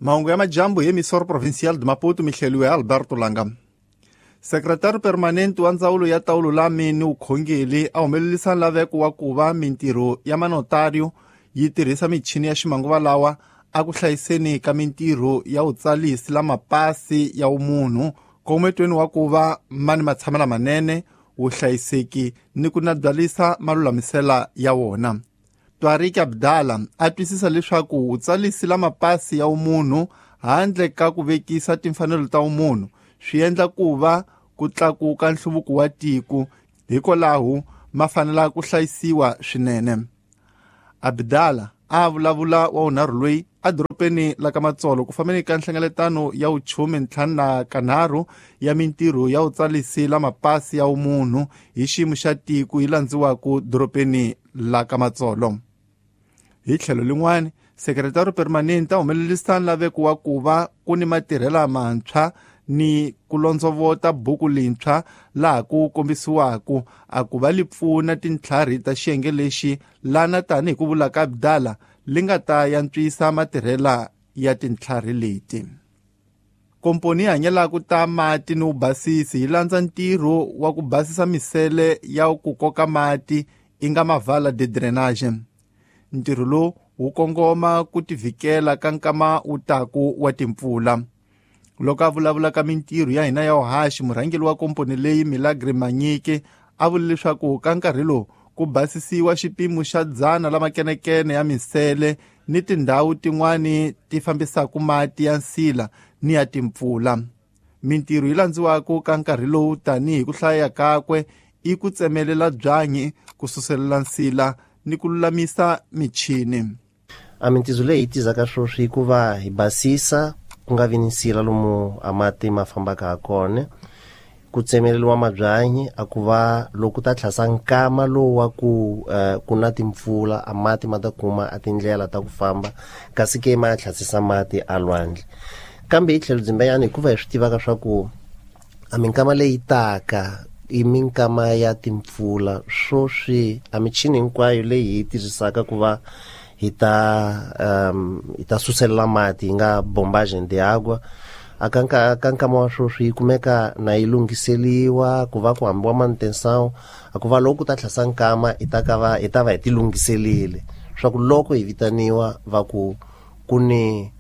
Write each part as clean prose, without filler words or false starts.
Mahungu ya majambu hi Emissora Provincial de Maputo, mihleliwe Alberto Langa. Sekretari permanente wa ndzawulo ya ta vululami ni vukhongeri a humelerisa laveko wa ku va mintirho ya manotario yi tirhisa michini ya ximanguva lawa a ku hlayiseni ka mintirho ya vutsalisi la mapasi ya vumunhu kometweni wa ku va ma ni matshamelo manene, vuhlayiseki ni ku nabyalisa malulamisela ya wona. Tariq Abdala a twisisa leswaku vutsalisi la mapasi ya vumunhu handle ka ku vekisa timfanelo ta vumunhu swi endla ku va ku tlakuka nhluvuko wa tiko, hikwalaho ma fanela ku hlayisiwa swinene. Abdala a vulavula wa vunharhu loyi edorobeni la ka Matsolo ku fambeni ka nhlengeletano ya vuchume 53 ya mintirho ya vutsalisi la mapasi ya vumunhu hi xiyimo xa tiko yi landziwaka dorobeni la ka Matsolo. Hi tlhelo lin'wana, sekretari permanente a humelerisa laveko wa ku va ku ni matirhela mantshwa ni ku londzovota buku lintshwa laha ku kombisiwaka a ku va li pfuna tintlhari ta xiyenge lexi lana tanihi ku vula ka Abdala li nga ta yantswisa matirhela ya tintlhari leti. Komponi yi hanyelaka ta mati ni vubasisi yi landza ntirho wa ku basisa misele ya ku koka mati i nga mavala de drainage. Ntirho lowu wu kongoma ku tivikela ka nkama wu taku wa timpfula. Loko a vulavula ka mintirho ya hina ya vuhaxi, murhangeri wa komponi leyi Milagre Manyike a vule leswaku ka nkarhi lowu ku basisiwa xipimo xa 100 la makenekene ya misele ni tindhawu tin'wani ti fambisaka mati ya nsila ni ya timpfula. Mintirho yi landziwaka ka nkarhi lowu tanihi ku hlaya kakwe i ku tsemelela byanyi, ku suselela nsila ni ku lulamisa michini. A mintirho leyi hi tizaka sweswi i ku va hi basisa ku nga vi ni nsila lomu a mati ma fambaka ha kona, ku tsemeleriwa mabyanyi a ku va loko ta tlhasa nkama lowu wa ku ku na timpfula a mati ma ta kuma a tindlela ta ku famba, kasi ke ma ya tlhasisa mati a lwandle. Kambe hi tlhelo dzimbenyana hikuva hi swi tivaka swa ku a minkama leyi taka i minkama ya timpfula, swoswi a michini hinkwayo leyi hi yi tirhisaka ku va hi ta suselela mati hi nga bombage de água a ka nkama wa swoswi yi kumeka na yi lunghiseliwa ku va ku hambiwa manutenção a ku va loko ku ta tlhasa nkama hi ta va hi ti lunghiselile swa ku loko hi vitaniwa va ku ku ni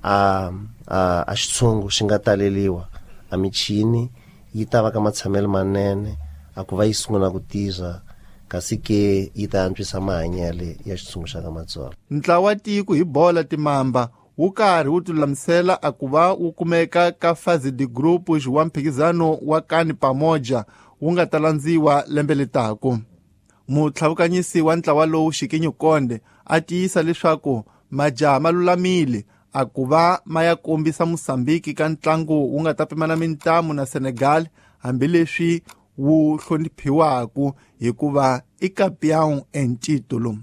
a xitshungu xi nga taleliwa a michini yi ta va ka matshamelo manene a ku va yi sungula ku tirha, kasi ke yi ta antswisa mahanyelo ya xitshungu xa ka Matsolo. Ntlawa tiko hi bola timamba wu karhi wu tilulamisela a ku va wu kumeka ka fase de grupos wa mphikizano wa Kani Pamoja wu nga ta landziwa lembe letaku. Mutlhavukanyisi wa ntlawa lowu Xikinyu Konde a tiyisa leswaku majaha ma lulamile a ku va ma ya kombisa Mosambiki ka ntlangu wu nga ta pimana mintamu na Senegal, hambileswi wu hloniphiwaka hikuva i campeão em título.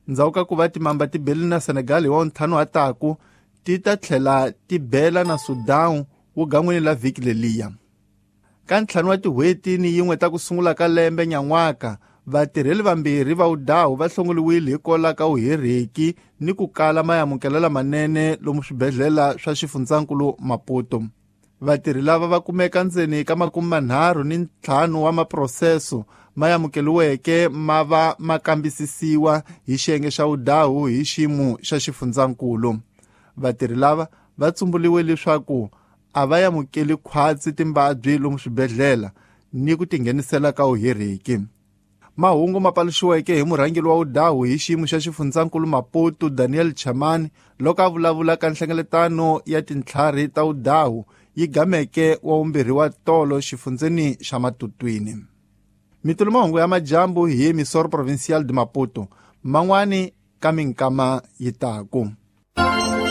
Ndzhaku ka ku va timamba ti bele na Senegal hi wa 5 wa taku, ti ta tlhela ti bela na Sudan wu gan'wini la vhiki leliya. Ka 5 wa tin'hweti ni yin'we ta ku sungula ka lembe nyan'waka, vatirheli vambirhi va vudahu va hlongoliwile hikwalaho ka vuherheki ni ku kala maamukelo manene lomu swibedhlele swa xifundzankulu Maputo. Vatirhi lava va kumeka ndzeni ka 35 wa maproseso ma amukeliweke ma va ma kambisisiwa hi xiyenge xa vudahu hi xiyimo xa xifundzankulu. Vatirhi lava va tsumbuliwe leswaku a va amukeli khwatsi timbabyi lomu swibedhlele ni ku tinghenisela ka vuherheki. Mahungu ma paluxiweke hi murhangeri wa vudahu hi xiyimo xa xifundzankulu Maputo Daniel Chamani loko a vulavula ka nhlengeletano ya tintlhari ta vudahu yi gameke wa vumbirhi wa tolo xifundzeni xa Matutwini. Mitulu mahungu ya majambu hi Emissora Provincial de Maputo man'wani ka minkama yi taku.